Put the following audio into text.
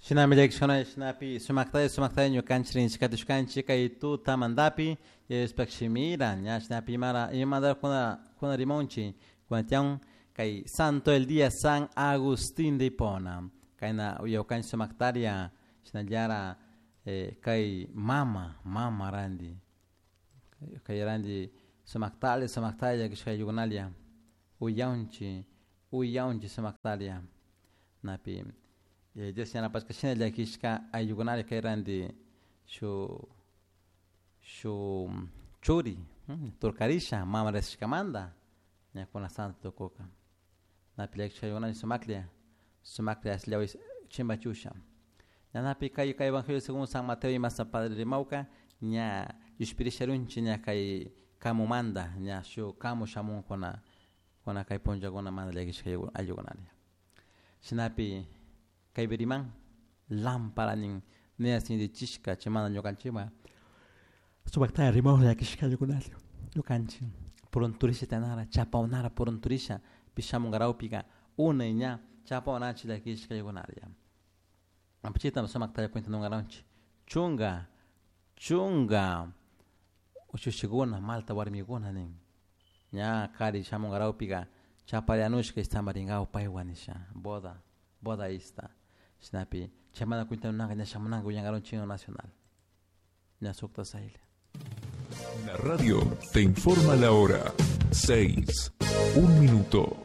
Shinami llakishkuna shinapi sumaktalla sumaktalla ñukanchik rinchikatishkanchik kay tutamantapi Diospaj shimira ña shinapi imara imamanta kuna kuna rimaunchik kunatiyan kay santo del día San Agustín de Hipona kayna uyawkanchik sumaktaria shinallara kay mama mama ranti kay ranti sumaktalla sumaktalla llakishka ayllukunalla uyaunchik uyaunchik sumaktaria napi Dios yanapashka shina llakishka ayllukunalla kay ranti shu shu churi turkarisha mama risishkamanta ña kuna santo tukuka napi llakishka ayllukunalla sumaklla sumaklla ashllawi chimbachusha ñanapi kay kay evangelio según San Mateo y San Padre rimawka ña llushpirisharunchik ña kay kamumanta ña shu kamu shamunkuna kuna kay punllakunamanta llakishka ayllukunalla shinapi kaypi riman lámpara nin nina sintichishka chaymanta ñukanchikman sumaktalla rimawk llakishka ayllukunalla ñukanchik purunturisha tiyanara chapawnara purunturisha pi shamunkarawpika unay ña chapawnachik llakishka ayllukunalla chayta sumaktalla cuentanunkaranchik chunka chunka ushushikuna malta warmikuna nin ña kari shamunkarawpika chaparianushka istamarinkaw paywan nisha boda boda ista shinapi chaymanta cuentanunanka ña shamunanka willankaranchik himno nacional ña sukta sayla. La radio te informa la hora 6, 1 minuto.